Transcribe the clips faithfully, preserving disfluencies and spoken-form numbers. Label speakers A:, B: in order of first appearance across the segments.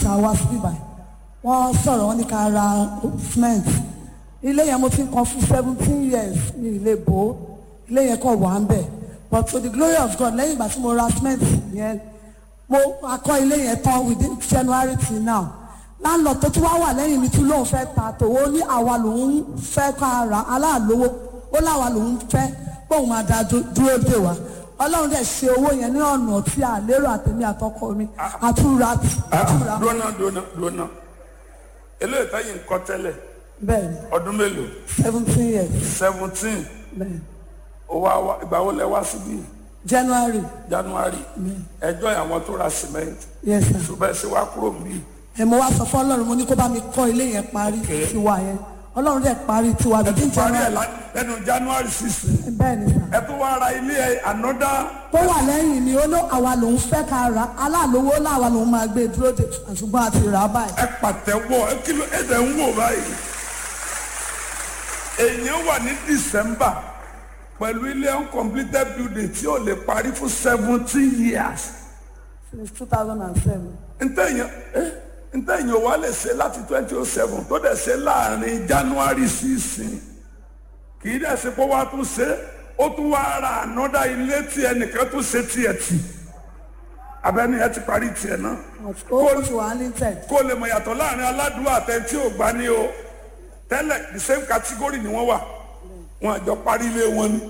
A: a wá sí ibà, wọ́n sọ̀rọ̀, wọ́n ní ká ra cement. Ilé yẹn mo ti ń kan fún seventeen years ní ilé bò ó. Ilé yẹn kàn wà ń bẹ̀. But to the glory of God, lẹ́yìn ìgbà tí mo ra cement yẹn, mo akọ ilé yẹn tán within January till now. Landlord tó tún wá wà lẹ́yìn mi tún lóun fẹ́ ta tòun, ó ní àwa lòun fẹ́ ká ra aláàlówó, ó láwa lòun fẹ́ bóun máa da dú- dúró dè wá. Ọlọ́run dẹ̀ ṣe owó yẹn ní ọ̀nà tí a lérò, àtẹ̀mí àtọkọ mi àtúra àtúra.
B: Dúnà dúnà dúnà, eléyìí táyì ń kọ́ tẹ́lẹ̀?
A: Bẹ́ẹ̀ ni.
B: Ọdún mélòó?
A: Seventeen years.
B: Seventeen?
A: Bẹ́ẹ̀.
B: Ó wá wá, ìgbà wo lẹ wá síbí?
A: January.
B: January, ẹjọ́ àwọn tó ra cement?
A: Yes sir.
B: Ṣùgbọ́n ẹ ṣe wá kúrò níbí.
A: Ẹ mo wá sọ fún Ọlọ́run, mo ní kó bá mi kọ́ ilé yẹn parí tiwa yẹn. Ọlọ́run dẹ̀ parí tiwa within
B: Parí ẹ̀
A: January.
B: lá- lẹ́nu January sixteen.
A: Bẹ́ẹ̀ ni sir.
B: Ẹ tún wá ra ilé ẹ another.
A: Tó wà lẹ́yìn mi, ó ló àwa lòun fẹ́ ká ra aláàlówó, láwa lòun máa gbé dúró dè, ṣùgbọ́n a ti rà á báyìí.
B: Ẹ pàtẹ́wọ́. Ẹ kí ló ẹ dẹ̀ ń wò báyìí? Èèyàn wà ní December pẹ̀lú ilé uncompleted building tí ò lè parí fún seventeen years.
A: Since two thousand and seven.
B: Ntẹ̀yìn eh, ntẹ̀yìn ò wá lè ṣe láti twenty oh seven tó dẹ̀ ṣe láàrin January sísìn. Kì í dẹ̀ ṣe pé wàá tún ṣe, ó tún wá ra ànádá ilé tí ẹnìkan tún ṣe tiẹ̀ tì. Abẹ́ni ẹ ti parí tiẹ̀ náà.
A: Ó ti wà ní tẹ̀.
B: Kó lè mọ̀ yàtọ̀ láàrin aládùúgbò àtẹ̀ntí ò gbá ní o. Tẹ́lẹ̀, the same category ni wọ́n wà, wọn àjọ parí ilé wọn ni.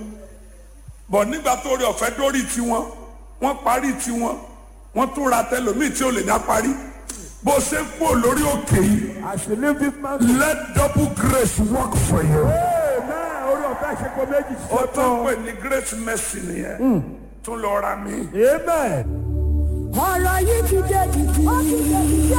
B: Bọ̀ nígbà tó rí ọ̀fẹ́ dórí tiwọn, wọ́n parí tiwọn, wọ́n tún ra tẹlòmíì tí ò lè dá parí. Bó ṣe ń kúrò lórí òkè yìí,
C: As you leave this mountain,
B: let double grace work for you.
C: Amen. Orí ọ̀fẹ́ ṣe kó méjì
B: Ó
C: ṣiṣẹ́
B: tún
C: fún ọ.
B: pè ní great mercy nìyẹn, tún lọ ra mi.
C: Amen.
A: Ọ̀rọ̀ yìí ti dé jìjì. Ó ti dé jìjì.